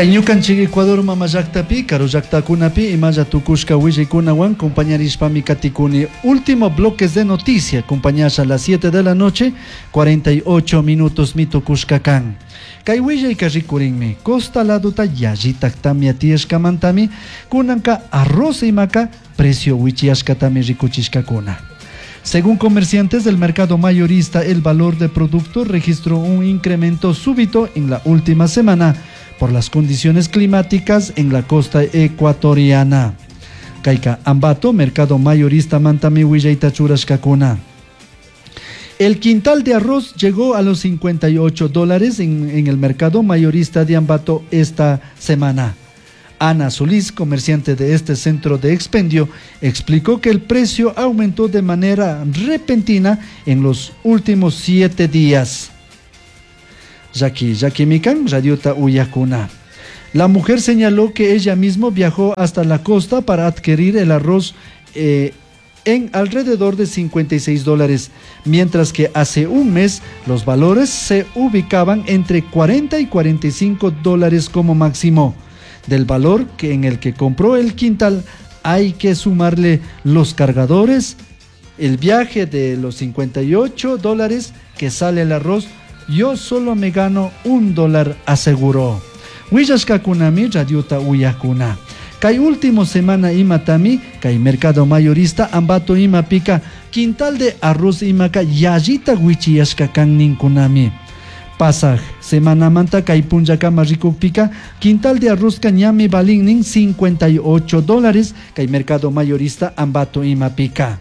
Kay ñukanchik Ecuador mama llaktapi, karu llaktakunapi imalla tukushka willaykunawan compañarishpami katikuni. Último bloques de noticia, compañasha a las 7 de la noche, 48 minutos mi tukushka kan. Kay willayka rikurinmi, costa laduta yallitak tamia tiyashkamantami, kunanka arroz imaka precio wichiyashkatami rikuchishkakuna. Según comerciantes del mercado mayorista, el valor de producto registró un incremento súbito en la última semana por las condiciones climáticas en la costa ecuatoriana. Kayka Ambato, mercado mayorista mantami willayta churashkakuna. El quintal de arroz llegó a los $58 en el mercado mayorista de Ambato esta semana. Ana Solís, comerciante de este centro de expendio, explicó que el precio aumentó de manera repentina en los últimos 7 días. Jackie, Jackie Mikan, Radiota Uyakuna. La mujer señaló que ella misma viajó hasta la costa para adquirir el arroz en alrededor de $56, mientras que hace un mes los valores se ubicaban entre 40 y $45 como máximo. Del valor en el que compró el quintal hay que sumarle los cargadores, el viaje de los $58 que sale el arroz, yo solo me gano un dólar, aseguró. Willashkakunami radiota uyakuna. Kay último semana imatami, kay mercado mayorista Ambato imapika, quintal de arroz imaka yallita wichiyashka kan ninkunami. Pasaj semana manta kay punllakama rikukpika, quintal de arroz ñami balin $58, kay mercado mayorista Ambato imapika.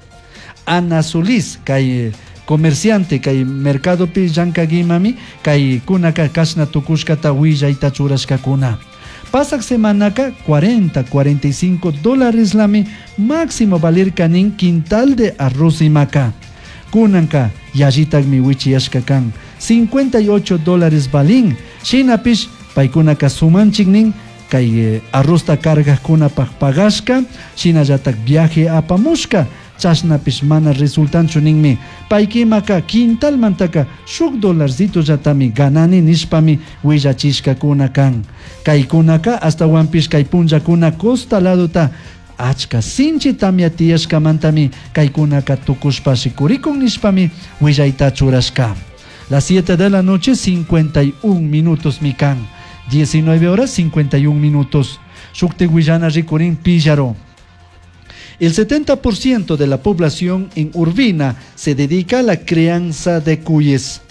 Ana Solís, kay comerciante, kay mercado pi llankagimami, kay kunaka kashna tukushkata willayta churashkakuna. Pasaj semanaka 40, $45 lami máximo valir kanin quintal de arroz imaka. Kunanka yallitakmi wichiyashka kan $58 balin. Shinapish paykunaka sumanchiknin kay arrozta cargajkunapaj pagashka, shinallatak viaje apamushka, chashnapish mana resultanchu ninmi. Paykimaka quintalmantaka shuk dolarcito llatami ganani nishpami willachishkakuna kan. Kaykunaka astawanpish kay punllakuna costa laduta achka sinchi tamya tiyashkamantami kaykunaka tukushpa rikurikun nishpami willayta churashka. Las 7 de la noche, 51 minutos mikan. 19 horas, 51 minutos. Shukti willana rikurin Píllaro. El 70% de la población en Urbina se dedica a la crianza de cuyes.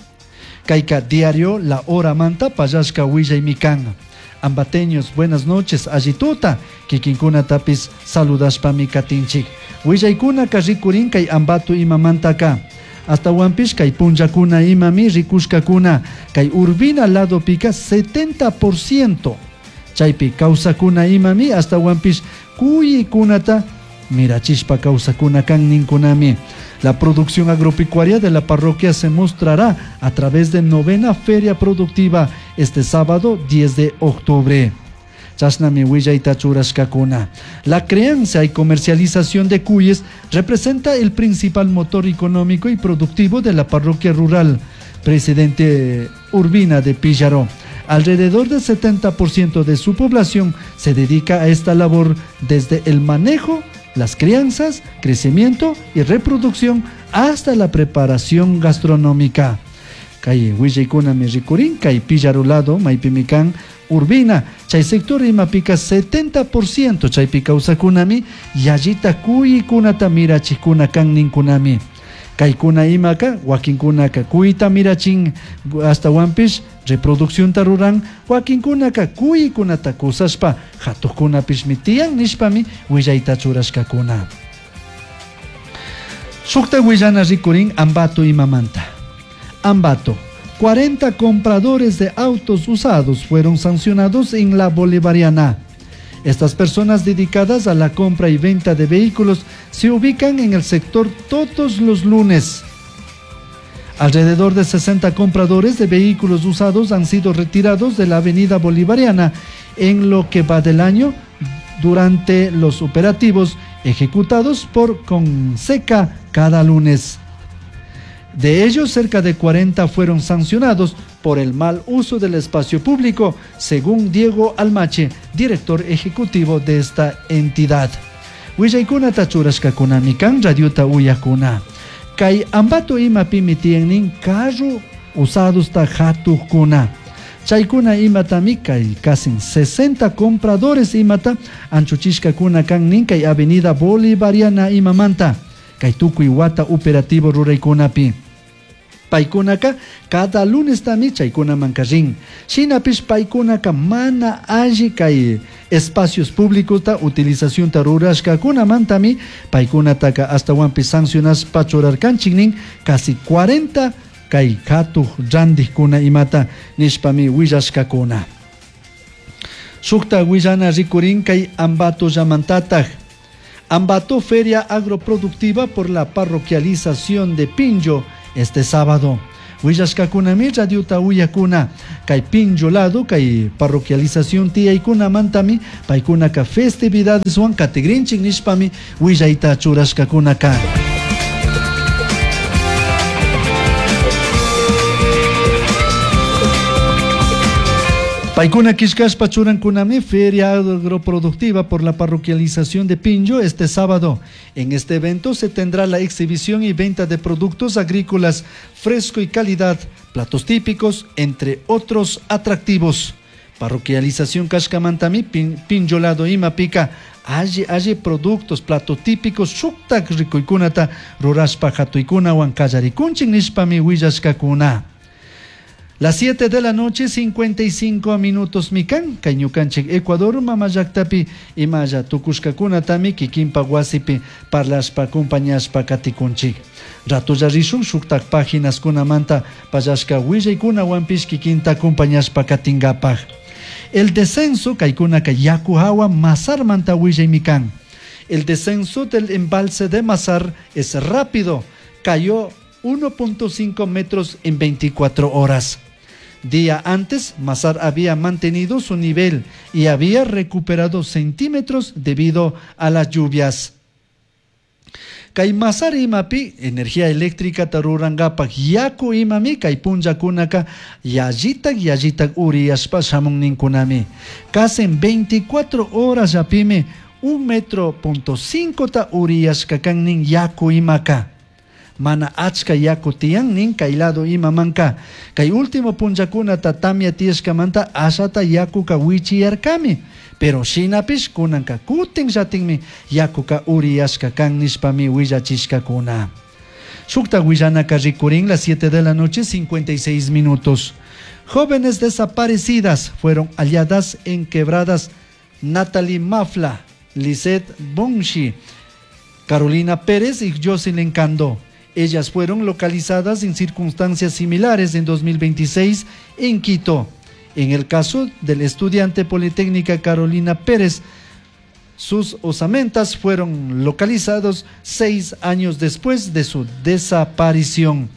Kayka diario La Hora Manta, Payashka Huilla y Mikan. Ambateños, buenas noches, allituta, kikinkuna tapis saludashpa mikatinchik. Willaykuna karrikurin kay Ambato imamantaka. Hasta Huampish kay punllakuna imami rikushkakuna. Kay Urbina lado pica 70%. Chaypi kawsakuna imami hasta Huampish kuyikunata mirachishpa kawsakuna kan ninkunami. La producción agropecuaria de la parroquia se mostrará a través de novena feria productiva este sábado 10 de octubre. Chasnami willayta churashkakuna. La crianza y comercialización de cuyes representa el principal motor económico y productivo de la parroquia rural Presidente Urbina de Píllaro. Alrededor del 70% de su población se dedica a esta labor desde el manejo, las crianzas, crecimiento y reproducción hasta la preparación gastronómica. Kay willaykuna mi rikurin, kay Píllaro lado, maypimikan, Urbina, chay sector imapika 70% chaypi kawsakunami, yallita kuykunata mirachikuna kan ninkunami. Kaykuna imaka, wakinkunaka kuyta mirachin, hasta wampish reproducción ruran, wakinkunaka kuykunata kusashpa, hatuqkunapishmi tiyan nishpami willayta churashkakuna. Sukta willana rikurin Ambato imamanta. Ambato, 40 compradores de autos usados fueron sancionados en la Bolivariana. Estas personas dedicadas a la compra y venta de vehículos se ubican en el sector todos los lunes. Alrededor de 60 compradores de vehículos usados han sido retirados de la avenida Bolivariana en lo que va del año durante los operativos ejecutados por Conseca cada lunes. De ellos, cerca de 40 fueron sancionados por el mal uso del espacio público, según Diego Almache, director ejecutivo de esta entidad. Willaykunata churashkakunami kan radiota uyakuna. Kay Ambato imapimi tiyannin carro usadosta hatukuna. Chaykuna imatami kay casi 60 compradores imata anchuchishkakuna kan nin kay Avenida Bolivariana imamanta. Kay tukuy wata operativo ruraykunapi. Paykunaka cada lunes tami chaykunaman rin. Shinapish paykunaka mana alli kay espacios públicos ta utilización ta rurashkakunamantami paykunataka astawanpi sancionashpa churarkanchik nin casi 40 kay hatuj randijkuna imata nishpami willashkakuna. Shukta willana rikurin kay Ambato llamantataj. Ambato Feria Agroproductiva por la parroquialización de Pinllo este sábado. Willashkakunami radiota uyakuna kay Pinllo lado kay parroquialización tiyaykunamantami paykunaka festividadeswan katigrinchik nishpami willayta churashkakunaka. Paykuna killkashpa churankunami Feria Agroproductiva por la parroquialización de Pinllo este sábado. En este evento se tendrá la exhibición y venta de productos agrícolas fresco y calidad, platos típicos, entre otros atractivos. Parroquialización kashkamantami Pinllo lado imapika alli alli productos, platos típicos, shuktak rikuykunata rurashpa hatuykunawan kallarikunchik nishpami willashkakuna. Las 7 de la noche, 55 minutos mikan, kay ñukanchik Ecuador mamallaktapi imalla tukushkakunatami kikinpa wasipi parlashpa acompañashpa katikunchik. Ratulla rishun shuktak páginas kunamanta pallashka willaykunawanpish kikinta acompañashpa katingapaj. El descenso kaykunaka yaku hawa Mazarmanta willaymikan. El descenso del embalse de Mazar es rápido, cayó 1.5 metros en 24 horas. Día antes, Mazar había mantenido su nivel y había recuperado centímetros debido a las lluvias. Kay Mazar imapi energía eléctrica tarurangapak yaku imami kay punllakunaka yallitak yallitak uriyashpa shamun ninkunami. Casi en 24 horas yapimi un metro punto cinco ta uriyashka kan nin yaku imaka. Mana achka yaku tiyan nin kay lado imamanka. Kay último punllakunata tamya tiyashkamanta ashata yakuka wichiyarkami. Pero shinapish kunanka kutin llatinmi yakuka uriyashka kan nishpami willachishkakuna. Shukta willanaka rikurin las 7 de la noche 56 minutos. Jóvenes desaparecidas fueron halladas en quebradas Natalie Mafla, Lisette Bonchi, Carolina Pérez y Jocelyn Candó. Ellas fueron localizadas en circunstancias similares en 2026 en Quito. En el caso del estudiante politécnica Carolina Pérez, sus osamentas fueron localizados 6 años después de su desaparición.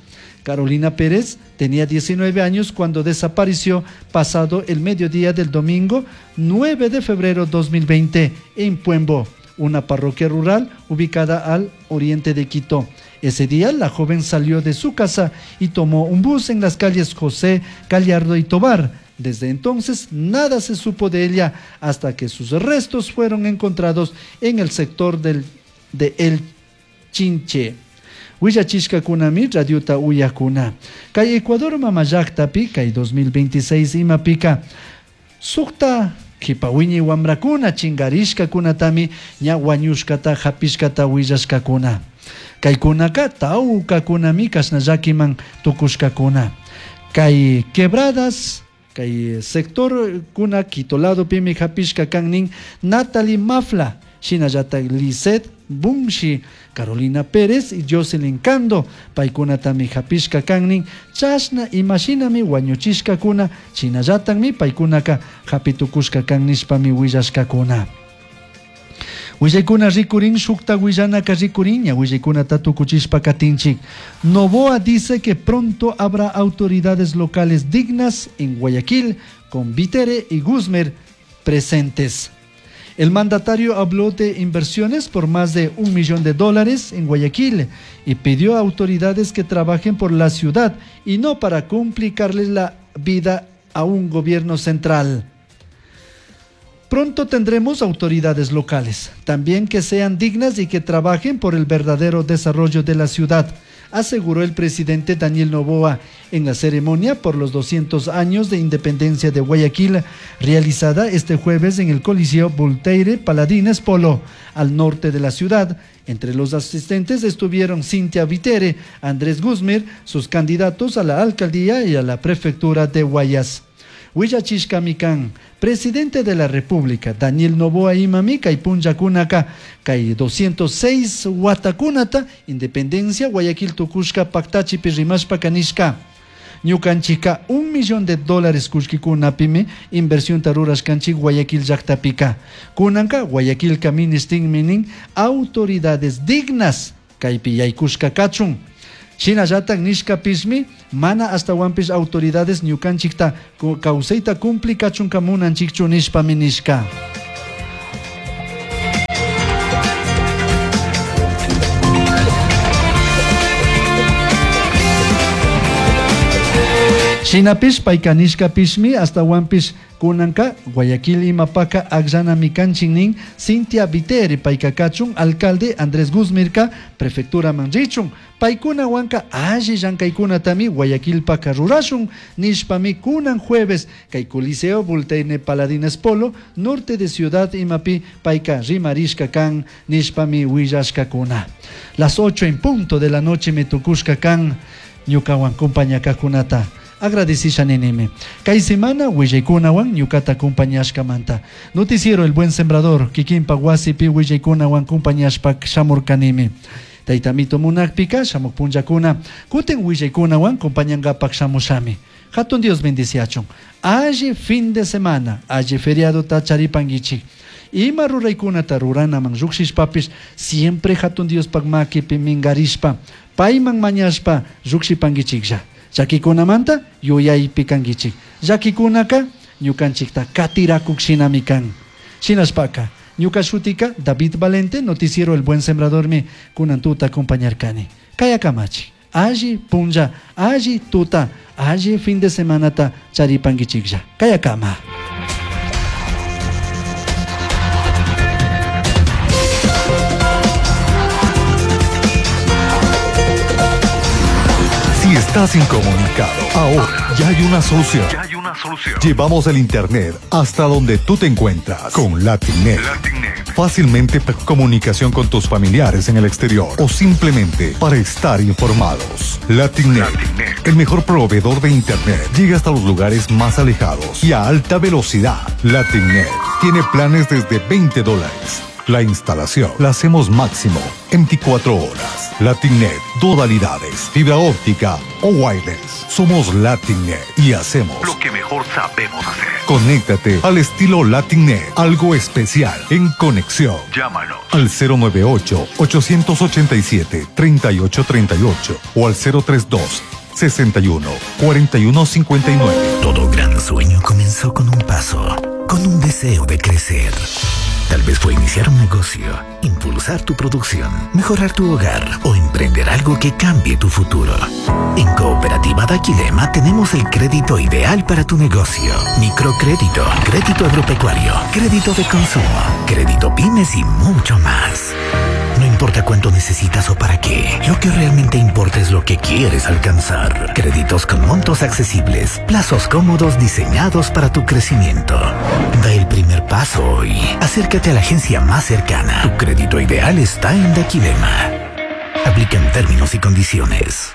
Carolina Pérez tenía 19 años cuando desapareció pasado el mediodía del domingo 9 de febrero 2020 en Puembo, una parroquia rural ubicada al oriente de Quito. Ese día la joven salió de su casa y tomó un bus en las calles José Gallardo y Tobar. Desde entonces nada se supo de ella hasta que sus restos fueron encontrados en el sector de El Chinche. Willachishkakunami radiota uyakuna. Kay Ecuador mamallaktapi kay 2026 imapika sukta kipawiñi wamrakuna chingarishkakunatami ña wañushkata hapishkata willashkakuna. Kaykunaka tawkakunami kashna llakiman tukushkakuna. Kay quebradas, kay sector kuna Quito lado pimi hapishka kan nin Natalie Mafla, shinallata Lisette Bunshi, Carolina Pérez y Jocelyn Cando, paykunatami hapishka kan nin, chashna imashinami wañuchishkakuna, shinallatanmi paykunaka hapitukushka kan nishpami willashkakuna. Willaykuna rikurin, shukta willanaka rikurin, ña willaykunata tukuchishpa katinchik. Noboa dice que pronto habrá autoridades locales dignas en Guayaquil, con Vitere y Guzmer presentes. El mandatario habló de inversiones por más de $1 millón en Guayaquil y pidió a autoridades que trabajen por la ciudad y no para complicarles la vida a un gobierno central. Pronto tendremos autoridades locales, también que sean dignas y que trabajen por el verdadero desarrollo de la ciudad, aseguró el presidente Daniel Noboa en la ceremonia por los 200 años de independencia de Guayaquil, realizada este jueves en el Coliseo Voltaire Paladines Polo, al norte de la ciudad. Entre los asistentes estuvieron Cintia Vitere, Andrés Guzmir, sus candidatos a la alcaldía y a la prefectura de Guayas. Huillachishkami kan, presidente de la República, Daniel Noboa imami, kay punllakunaka, kay 206 watakunata, independencia, Guayaquil tukushka paktachipi rimashpa nishka. Ñukanchika $1 millón kullkikunapimi inversionta rurashkanchik Guayaquil llaktapika. Kunanka Guayaquilka ministinmi nin autoridades dignas kaypi yaykushka kachun. Shinallatak nishkapishmi mana ashtawanpish autoridades ñukanchikta kawsayta complicachunka munanchikchu nishpami nishka. Shinapish payka nishkapishmi ashtawanpish kunanka Guayaquil imapaka akllanami kanchik nin Cintia Viteri payka kachun alcalde Andrés Guzmirka prefecturaman richun paykunawanka alli llankaykunatami Guayaquilpaka rurashun nishpami kunan jueves kay Coliseo Voltaire Paladines Polo norte de ciudad imapi payka rimarishka kan nishpami willashkakuna. Las 8 en punto de la noche me tukushka kan ñukawan kumpañakakunata agradecisha ninimi. Kay semana willaykunawan ñukata kumpañashkamanta. Noticiero El Buen Sembrador, kikinpa wasipi willaykunawan kumpañashpa shamurkanimi. Tayta Amito munakpika shamuk punllakuna kutin willaykunawan kumpañankapak shamushami. Hatun Dios bendiciachun. Alli fin de semana, alli feriado ta charipanguichik. Ima ruraykunata ruranaman llukshishpapish siempre hatun Diospak makipi mingarishpa, payman mañashpa llukshipanguichiklla. Llakikunamanta yuyaypi kanguichik. Llakikunaka ñukanchikta katirakuk shinami kan. Shinashpaka ñuka shutika David Valente, noticiero El Buen Sembrador mi kunan tuta acompañarkani. Kayakamachi. Alli punlla, alli tuta, alli fin de semanata charipanguichiklla. Kayakama. Si estás incomunicado, ahora ya hay una solución. Ya hay una solución. Llevamos el internet hasta donde tú te encuentras con LatinNet. LatinNet. Fácilmente comunicación con tus familiares en el exterior o simplemente para estar informados. LatinNet, LatinNet. el mejor proveedor de internet, llega hasta los lugares más alejados y a alta velocidad. LatinNet tiene planes desde $20. La instalación la hacemos máximo en 24 horas. LatinNet, modalidades, fibra óptica o wireless. Somos LatinNet y hacemos lo que mejor sabemos hacer. Conéctate al estilo LatinNet, algo especial en conexión. Llámanos al 098 887 3838 o al 032 61 41 59. Todo gran sueño comenzó con un paso, con un deseo de crecer. Tal vez fue iniciar un negocio, impulsar tu producción, mejorar tu hogar o emprender algo que cambie tu futuro. En Cooperativa Daquilema tenemos el crédito ideal para tu negocio. Microcrédito, crédito agropecuario, crédito de consumo, crédito pymes y mucho más. No importa cuánto necesitas o para qué, lo que realmente importa es lo que quieres alcanzar. Créditos con montos accesibles, plazos cómodos diseñados para tu crecimiento. Da el primer paso hoy. Acércate a la agencia más cercana. Tu crédito ideal está en Daquilema. Aplican términos y condiciones.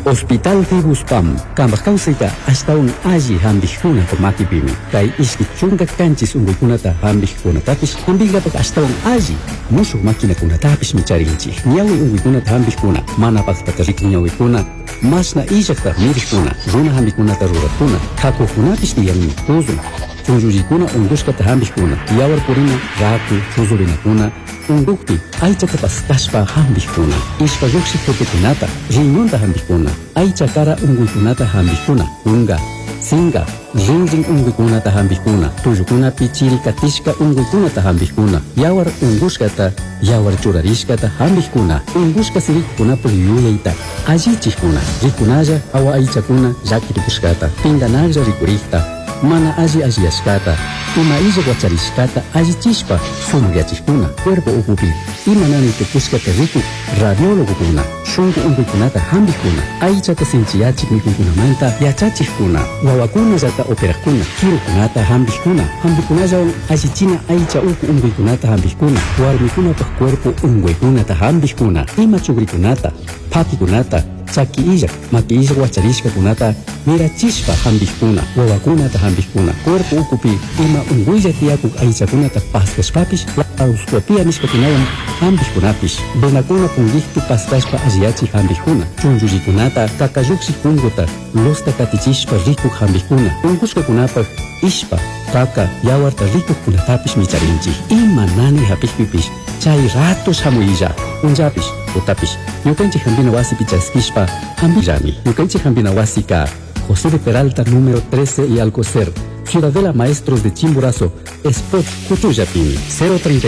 Hospital Fibuspam, kambaj kawsayta ashtawan alli hampikkunata makipimi. Kay 27 unkuykunata hampikkunatapish hampinkapak ashtawan alli mushuk maquinakunatapishmi charinchik. Ñawi unkuykunata hampikkuna, mana paktata rikun ñawikuna, mashna illakta mirikkuna, runa hampikunata rurakkuna, kakuqkunapish tiyanmi. Tuzun, chunllullikuna unkushkata hampikkuna, yawar purina, raku, chuzurinakuna, unkukpi aychata paskashpa hampikkuna, ishpa llukshiq tutukunata, riñonta hampikkuna, aycha kara unkuykunata hampikkuna, kunka, Singa, rinrin unquykunata hampikuna, tullukunapi chiri katishka unquykunata hampikuna, yawar unqushkata, yawar churarishkata hampikuna, unqushka sirikukunapaq yuyayta allichikuna, rikunalla hawa aychakuna llakirikushkata, pinganaklla rikurikta, mana alli alliyashkata, ima illa wacharishkata allichishpa sumakyachikuna, cuerpo ukupi ima nanay tukushkata rikuk radiólogokuna, shunku unquykunata hampikuna, aychata sinchiyachik mikuykunamanta yachachikkuna, wawakunallata operakuna, kirukunata hampikuna, hampikunallawan allichina aycha uku unquykunata hampikuna, warmikunapaq cuerpo unquykunata hampikuna, ima chukrikunata, phakikunata, chaki illak, maki illak wacharishkakunata mirachishpa hampikuna, wawakunata hampikuna, cuerpo ukupi ima unquylla tiyakuk aychakunata paskashpapish laparoscopia nishkakunawan hampikkunapish, venakuna punkikpi paskashpa alliyachik hampikkuna, chunchullikunata kakalluksik punkuta lusta katichishpa rikuk hampikkuna, unqushkakunapaq ishpa, kaka, yawarta rikukkunatapish micharinchik. Ima nanay hapikpipish chay rato shamuylla, punllapish, tutapish, ñukanchik hampina wasipi chaskishpa hampillami. Ñukanchik hampina wasika José de Peralta número 13 y Alcocer, Ciudadela Maestros de Chimborazo, Spot Cuchullapimi, 032.